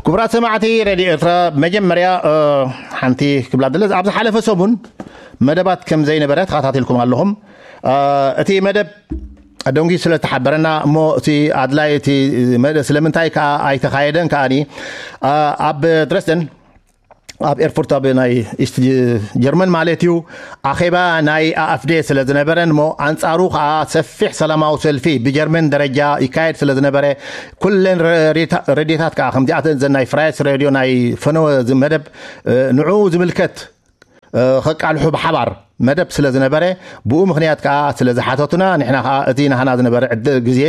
ክቡራት ሰማዕቲ ሬድዮ ኤርትራ፣ መጀመርያ ሓንቲ ክብላ ደለዝ ኣብ ዝሓለፈ ሰሙን መደባት ከም ዘይነበረ ተኸታቲልኩም ኣለኹም። እቲ መደብ ደንጉ ስለ ዝተሓበረና እሞ እቲ ኣድላይ እቲ ስለምንታይ ከዓ ኣይተኻየደን ከዓኒ ኣብ ድረስደን ኣብ ኤርፖርት ኣብ ናይ ኢስት ጀርመን ማለት እዩ ኣኼባ ናይ ኣኣፍዴ ስለ ዝነበረን እሞ ኣንጻሩ ከዓ ሰፊሕ ሰላማዊ ሰልፊ ብጀርመን ደረጃ ይካየድ ስለ ዝነበረ ኩለን ረድዮታት ከዓ ከምዚኣተን ዘን ናይ ፍራይስ ሬድዮ ናይ ፈነወ መደብ ንዑ ዝምልከት ከቃልሑ ብሓባር መደብ ስለ ዝነበረ ብኡ ምክንያት ከዓ ስለ ዝሓተቱና ንሕና ከዓ እቲ ናህና ዝነበረ ዕድል ግዜ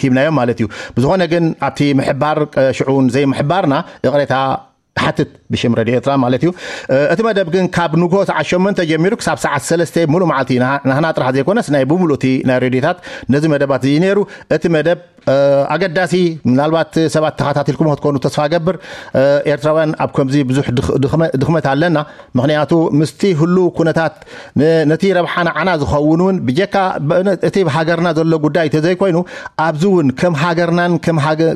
ሂብናዮም ማለት እዩ። ብዝኾነ ግን ኣብቲ ምሕባር ሽዑን ዘይምሕባርና ይቕሬታ ሓትት ብሽም ረድዮ ኤርትራ ማለት እዩ። እቲ መደብ ግን ካብ ንግሆ ሰዓት ሸሞንተ ጀሚሩ ክሳብ ሰዓት ሰለስተ ሙሉእ መዓልቲ ናህና ጥራሕ ዘይኮነስ ናይ ብምሉእ እቲ ናይ ሬድዮታት ነዚ መደባት እዩ ነይሩ። እቲ መደብ ኣገዳሲ ምናልባት ሰባት ተኸታቲልኩም ክትኮኑ ተስፋ ገብር። ኤርትራውያን ኣብ ከምዚ ብዙሕ ድኽመት ኣለና። ምክንያቱ ምስቲ ህሉ ኩነታት ነቲ ረብሓ ንዓና ዝኸውን እውን ብጀካ እቲ ሃገርና ዘሎ ጉዳይ ተዘይኮይኑ ኣብዚ እውን ከም ሃገርናን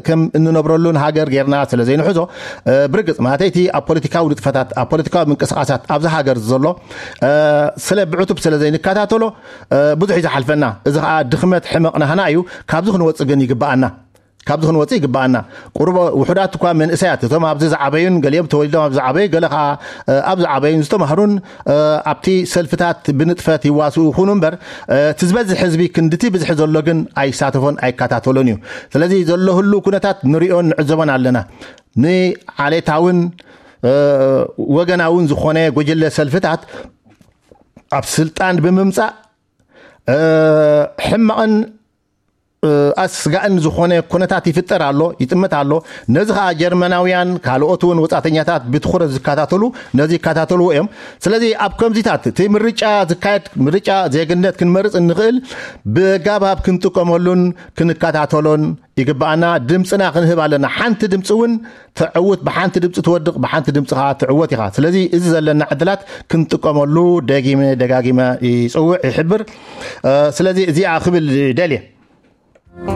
ከም እንነብረሉን ሃገር ጌርና ስለ ዘይንሕዞ ብርግፅ ማለተይ እቲ ኣብ ፖለቲካዊ ንጥፈታት ኣብ ፖለቲካዊ ምንቅስቃሳት ኣብዚ ሃገር ዘሎ ስለ ብዕቱብ ስለ ዘይንከታተሎ ብዙሕ እዩ ዝሓልፈና። እዚ ከዓ ድኽመት ሕመቕ ናህና እዩ። ካብዚ ክንወፅእ ግን ይግብኣና። ካብዚ ክንወፅእ ይግብኣና። ቁሩብ ውሑዳት እኳ መንእሰያት እቶም ኣብዚ ዝዓበዩን ገሊኦም ተወሊዶም ኣብ ዝዓበዩ ገለ ከዓ ኣብ ዝዓበዩን ዝተማህሩን ኣብቲ ሰልፍታት ብንጥፈት ይዋስኡ ይኹኑ እምበር እቲ ዝበዝሕ ህዝቢ ክንድቲ ብዝሒ ዘሎ ግን ኣይሳተፎን ኣይከታተሎን እዩ። ስለዚ ዘሎ ህሉ ኩነታት ንሪኦን ንዕዘቦን ኣለና። ንዓሌታውን ወገናውን ዝኾነ ጉጅለ ሰልፍታት ኣብ ስልጣን ብምምፃእ ሕማቕን ኣስጋእን ዝኾነ ኩነታት ይፍጠር ኣሎ፣ ይጥምት ኣሎ። ነዚ ከዓ ጀርመናውያን ካልኦት እውን ወፃተኛታት ብትኹረት ዝከታተሉ ነዚ ይከታተልዎ እዮም። ስለዚ ኣብ ከምዚታት እቲ ምርጫ ዝካየድ ምርጫ ዜግነት ክንመርፅ እንኽእል ብጋባብ ክንጥቀመሉን ክንከታተሎን ይግብኣና። ድምፅና ክንህብ ኣለና። ሓንቲ ድምፂ እውን ተዕውት፣ ብሓንቲ ድምፂ ትወድቕ፣ ብሓንቲ ድምፂ ከዓ ትዕወት ኢኻ። ስለዚ እዚ ዘለና ዕድላት ክንጥቀመሉ ደጊመ ደጋጊመ ይፅውዕ ይሕብር። ስለዚ እዚኣ ክብል ደልየ።